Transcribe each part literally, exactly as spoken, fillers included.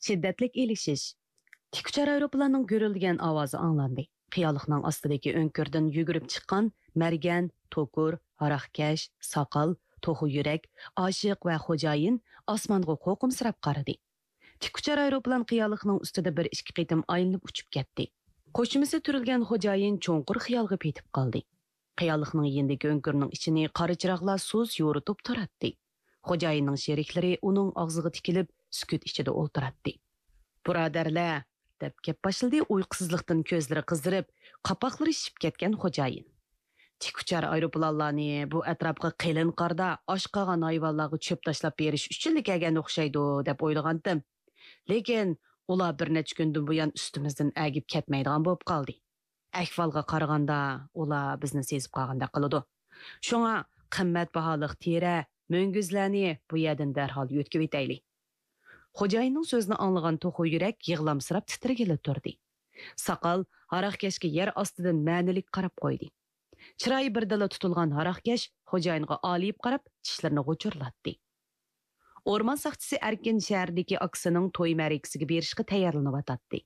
شىددەتلىك ئېلىشىش. تىك ئۇچار ئايروپىلاننىڭ گۈرۈلدىگەن ئاۋازى ئاڭلاندى. قىيالىقنىڭ ئاستىدىكى ئۆڭكۈردىن يۈگۈرۈپ چىققان مەرگەن، توكۇر، ھاراقكەش، ساقال، توخۇ يۈرەك، ئاشىق ۋە خوجايىن ئاسمانغا قورقۇمسىراپ قارىدى. تىك ئۇچار ئايروپىلان قىيالىقنىڭ ئۈستىدە بىر ئىككى قېتىم ئايلىنىپ ئۇچۇپ كەتتى. قوشۇمىسى تۈرۈلگەن خوجايىن چوڭقۇر خىيالغا پېتىپ قالدى. قىيالىقنىڭ يېنىدىكى ئۆڭكۈرنىڭ ئىچىنى قارا چىراغلار سۇس يورۇتۇپ تۇراتتى. خوجايىننىڭ شېرىكلىرى ئۇنىڭ ئاغزىغا تىكىلىپ، سۈكۈت ئىچىدە ئولتۇراتتى. بۇرادەرلەر، دەپ گەپ باشلىدى ئۇيقۇسىزلىقتىن كۆزلىرى قىزىرىپ، قاپاقلىرى شىشىپ كەتكەن خوجايىن. تىك ئۇچار ئايروپىلانلارنى بۇ ئەتراپقا قېلىن قاردا ئاچ قالغان ھايۋانلارغا چۆپ تاشلاپ بېرىش ئۈچۈنلا كەلگەن ئوخشايدۇ، دەپ ئويلىغانتىم. لېكىن ئۇلار بىر نەچچە كۈندىن بۇيان ئۈستىمىزدىن ئەگىپ كەتمەيدىغان بولۇپ قالدى. ئەھۋالغا قارىغاندا، ئۇلار بىزنى سېزىپ قالغاندەك قىلىدۇ. شۇڭا قىممەت باھالىق تېرە، مۈڭگۈزلەرنى بۇ يەردىن دەرھال يۆتكىۋېتەيلى. خوجايىننىڭ سۆزىنى ئاڭلىغان توخۇ يۈرەك يىغلامسىراپ تىترىگىلى تۇردى. ساقال ھاراقكەشكە يەر ئاستىدىن مەنىلىك قاراپ قويدى. چىرايى بىردىنلا تۇتۇلغان ھاراقكەش خوجايىنغا ئالىيىپ قاراپ، چىشلىرىنى غۇچۇرلاتتى. ئورمان ساقچىسى ئەركىن شەھەردىكى ئاكىسىنىڭ توي مەرىكىسىگە بېرىشقا تەييارلىنىۋاتاتتى.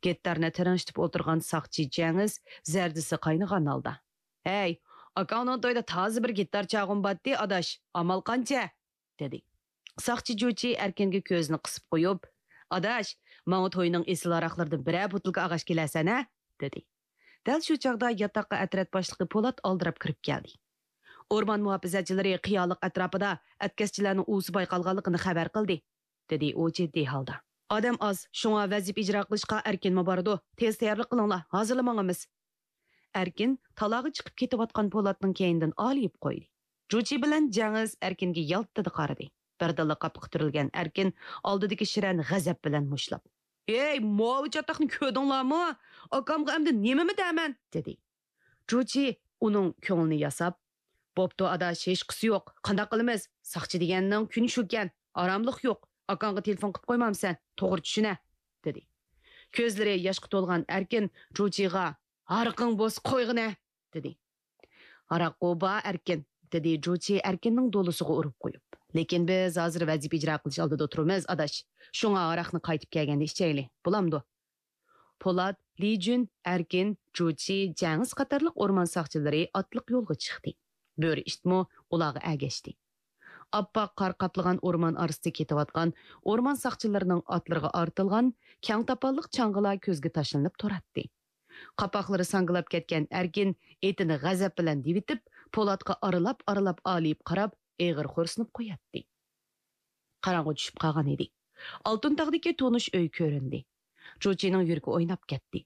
گىتارنى تىرىڭشىتىپ ئولتۇرغان ساقچى جەڭىز زەردىسى قاينىغان ھالدا، «ھەي، ئاكاڭنىڭ تويىدا تازا بىر گىتار چالغۇم باتتى، ئاداش، ئامال قانچە؟» دېدى. ساقچى جۇچى ئەركىنگە كۆزىنى قىسىپ قويۇپ، «ئاداش، ماڭا توينىڭ ئېسىل ھاراقلىرىدىن بىرەر بوتۇلكا ئالغاچ كېلەرسەن ھە؟» دېدى. دەل شۇ چاغدا ياتاققا ئەترەت باشلىقى پولات ئالدىراپ كىرىپ كەلدى. «ئورمان مۇھاپىزەتچىلىرى قىيالىق ئەتراپىدا ئەتكەسچىلەرنىڭ ئۇۋىسى بايقالغانلىقىنى خەۋەر قىلدى.» دېدى ئۇ جىددىي ھالدا. «ئادەم ئاز، شۇڭا ۋەزىپە ئىجرا قىلىشقا ئەركىنمۇ بارىدۇ. تېز تەييارلىق قىلىڭلار، ھازىرلا ماڭىمىز.» ئەركىن تالاغا چىقىپ كېتىۋاتقان پولاتنىڭ كەينىدىن ئالىيىپ قويدى. جۇچى بىلەن جەڭىز ئەركىنگە يالتىدە قارىدى. بىردىنلا قاپىقى تۈرۈلگەن ئەركىن ئالدىدىكى شىرەنى غەزەپ بىلەن مۇشتلاپ، «ھەي، ماۋۇ چاتاقنى كۆردۈڭلارمۇ؟ ئاكامغا ئەمدى نېمىمۇ دەمەن؟» دېدى. جۇچى ئۇنىڭ كۆڭلىنى ياساپ، «بوپتۇ ئاداش، ھېچقىسى يوق. قانداق قىلىمىز؟ ساقچى دېگەننىڭ كۈنى شۇكەن. ئاراملىق يوق. ئاكاڭغا تېلېفون قىلىپ قويمامسەن؟ توغرا چۈشىنە.» دېدى. كۆزلىرى ياشقا تولغان ئەركىن جۇچىغا، «ھاراقىڭ بولسا قويغىنە.» دېدى. «ھاراققۇ بار ئەركىن.» دېدى جۇچى ئەركىننىڭ دولىسىغا ئۇرۇپ قويۇپ. «لېكىن بىز ھازىر ۋەزىپە ئىجرا قىلىش ئالدىدا تۇرىمىز، ئاداش. شۇڭا ھاراقنى قايتىپ كەلگەندە ئىچەيلى. بولامدۇ؟» پولات، لىجۈن، ئەركىن، جۇچى، جەڭىز قاتارلىق ئورمان ساقچىلىرى ئاتلىق يولغا چىقتى. بۆرە ئىتمۇ ئۇلارغا ئەگەشتى. ئاپئاق قار قاپلىغان ئورمان ئارىسىدا كېتىۋاتقان ئورمان ساقچىلىرىنىڭ ئاتلىرىغا ئارتىلغان كەڭ تاپانلىق چاڭغىلار كۆزگە تاشلىنىپ تۇراتتى. قاپاقلىرى ساڭگىلاپ كەتكەن ئەركىن ئېتىنى غەزەپ بىلەن دېۋىتىپ، پولاتقا ئارىلاپ-ئارىلاپ ئالىيىپ قاراپ، ئېغىر خورسىنىپ قوياتتى. قاراڭغۇ چۈشۈپ قالغان ئىدى. ئالتۇن تاغدىكى تونۇش ئۆي كۆرۈندى. جۇچىنىڭ يۈرىكى ئويناپ كەتتى.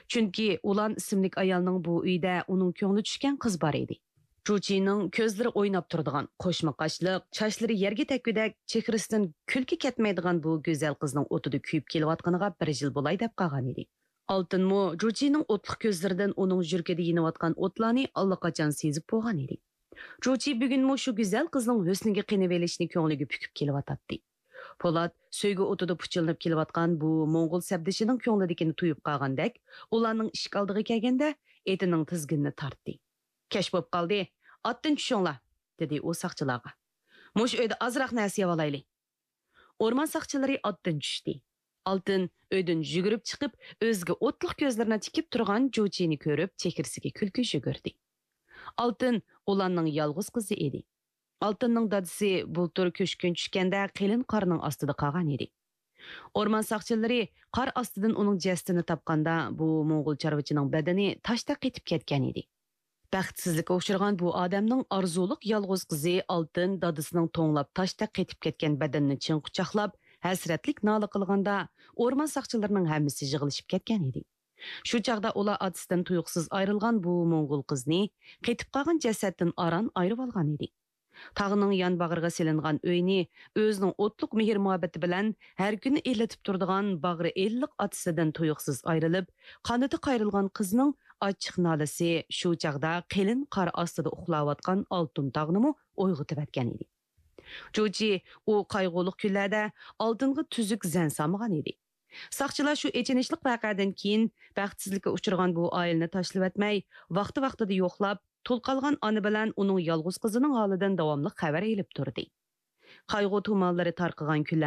چۈنكى ئۇلان ئىسىملىك ئايالنىڭ بۇ ئۆيدە ئۇنىڭ كۆڭلى چۈشكەن قىز بار ئىدى. جۇچىنىڭ كۆزلىرى ئويناپ تۇرىدىغان، قوشما قاشلىق، چاچلىرى يەرگە تەگكۈدەك، چېھرىسىدىن كۈلكە كەتمەيدىغان بۇ گۈزەل قىزنىڭ ئوتىدا كۆيۈپ كېلىۋاتقىنىغا بىر يىل بولاي دەپ قالغان ئىدى. ئالتۇنمۇ جۇچىنىڭ ئوتلۇق كۆزلىرىدىن ئۇنىڭ يۈرىكىدە يېنىۋاتقان ئوتلارنى ئاللىقاچان سېزىپ بولغان ئىدى. جۇچى بۈگۈنمۇ شۇ گۈزەل قىزنىڭ ھۆسنىگە قېنىۋېلىشنى كۆڭلىگە پۈكۈپ كېلىۋاتاتتى. پولات سۆيگۈ ئوتىدا پۇچىلىنىپ كېلىۋاتقان بۇ موڭغۇل سەپدىشىنىڭ كۆڭلىدىكىنى تۇيۇپ قالغاندەك، ئۇلارنىڭ ئىشىك ئالدىغا كەلگەندە ئېتىنىڭ تىزگىنىنى تارتتى. «كەچ بوپ قالدى، ئاتتىن چۈشۈڭلار!» دېدى ئۇ ساقچىلارغا. «مۇشۇ ئۆيدە ئازراق نەرسە يەۋالايلى.» ئورمان ساقچىلىرى ئاتتىن چۈشتى. ئالتىن ئۆيدىن يۈگۈرۈپ چىقىپ، ئۆزىگە ئوتلۇق كۆزلىرىنى تىكىپ تۇرغان جۇچىنى كۆرۈپ، چېھرىسىگە كۈلكە يۈگۈردى. ئالتىن ئۇلارنىڭ يالغۇز قىزى ئىدى. ئالتىننىڭ دادىسى بۇلتۇر كۆچكۈن چۈشكەندە قېلىن قارنىڭ ئاستىدا قالغان ئىدى. ئورمان ساقچىلىرى قار ئاستىدىن ئۇنىڭ جەسىتىنى تاپقاندا، بۇ موڭغۇل چارۋىچىنىڭ بەدىنى تاشتەك قېتىپ كەتكەن ئىدى. بەختسىزلىككە ئۇچرىغان بۇ ئادەمنىڭ ئارزۇلۇق يالغۇز قىزى ئالتىن دادىسىنىڭ توڭلاپ تاشتەك قېتىپ كەتكەن بەدىنىنى چىڭ قۇچاقلاپ، ھەسرەتلىك نالە قىلغاندا، ئورمان ساقچىلىرىنىڭ ھەممىسى يىغىلىشىپ كەتكەن ئىدى. شۇ چاغدا ئۇلار ئاتىسىدىن تۇيۇقسىز ئايرىلغان بۇ موڭغۇل قىزنى، قېتىپ قالغان جەسەتتىن ئاران ئايرىۋالغان ئىدى. تاغنىڭ يان باغرىغا سېلىنغان ئۆينى ئۆزىنىڭ ئوتلۇق مېھىر-مۇھەببىتى بىلەن ھەر كۈنى ئىللىتىپ تۇرىدىغان باغرى ئىللىق ئاتىسىدىن تۇيۇقسىز ئايرىلىپ، قانىتى قايرىلغان قىزنىڭ ئاچچىق نالىسى شۇ چاغدا قېلىن قار ئاستىدا ئۇخلاۋاتقان ئالتۇن تاغنىمۇ ئويغىتىۋەتكەن ئىدى. جۇچى ئۇ قايغۇلۇق كۈنلەردە ئالتۇنغا تۈزۈك زەن سالمىغان ئىدى. ساقچىلار شۇ ئېچىنىشلىق ۋەقەدىن كېيىن، بەختسىزلىككە ئۇچرىغان بۇ ئائىلىنى تاشلىۋەتمەي، ۋاقتى-ۋاقتىدا يوقلاپ، تۇل قالغان ئانا بىلەن ئۇنىڭ يالغۇز قىزىنىڭ ھالىدىن داۋاملىق خەۋەر ئېلىپ تۇردى. قايغۇ تۇمانلىرى تارقىغان كۈنلەرنىڭ